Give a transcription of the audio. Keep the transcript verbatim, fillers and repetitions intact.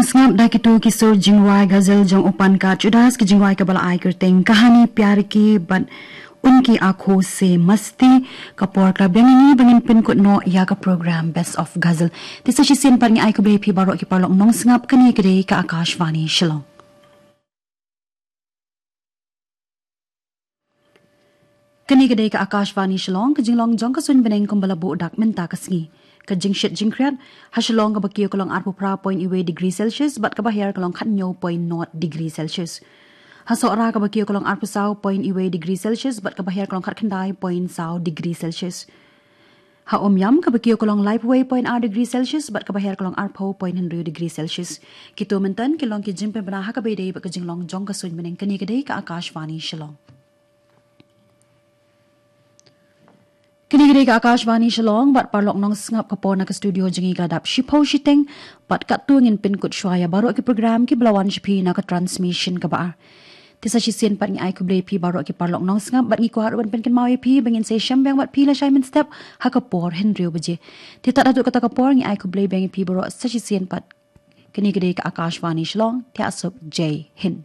Sngap da kito ki sur jingrwai ghazal jong u Pankaj Udas, ki jingrwai kaba la ai kyrteng Kahani Pyar Ki bad Unki Aankhon Se Masti. Ka por ka la biang ngi ba ngin pynkut noh ïa ka program Best of Ghazal. Te sa shisien pat ngi ai khublei phi baroh ki paralok nongsngap. Kane ka dei ka Akashvani Shillong. Kane ka dei ka Akashvani Shillong, ka jinglong jong ka suiñ bneng kumba la buh dak mynta ka sngi. Ka jingshit jingkhriat, ha Shillong kaba kiew ka long arphew phra point wei degree Celsius bad kaba hiar ka long khathynñiew point nought degree Celsius. Ha Sohra kaba kiew ka long arphew saw point wei degree Celsius bad kaba hiar ka long khatkhyndai point saw degree Celsius. Ha Umiam kaba kiew ka long laiphew wei point ar degree Celsius bad kaba hiar ka long arphew point hynriew degree Celsius. Kito mynta ki long ki jingpynbna ha kaba ïadei bad ka jinglong jong ka suiñ bneng. Kane ka dei ka Akashvani Shillong. Kane ka dei ka Akashvani Shillong bad paralok nongsngap, ka por na ka studio jong ngi ka la dap shiphew shiteng bad katto ngin pynkut shuwa ïa baroh ki program kiba la wan sha phi na ka transmission kaba ar. Te sa shisien pat ngi ai khublei phi baroh ki paralok nongsngap bad ngi kwah ruh ban pynkynmaw ïa phi ba ngin sa ïashem biang bad phi lashai mynstep ha ka por hynriew baje. Te tad haduh kata ka por ngi ai khublei biang ïa phi baroh, sa shisien pat. Kane ka dei ka Akashvani Shillong, te ha suk, Jai Hind.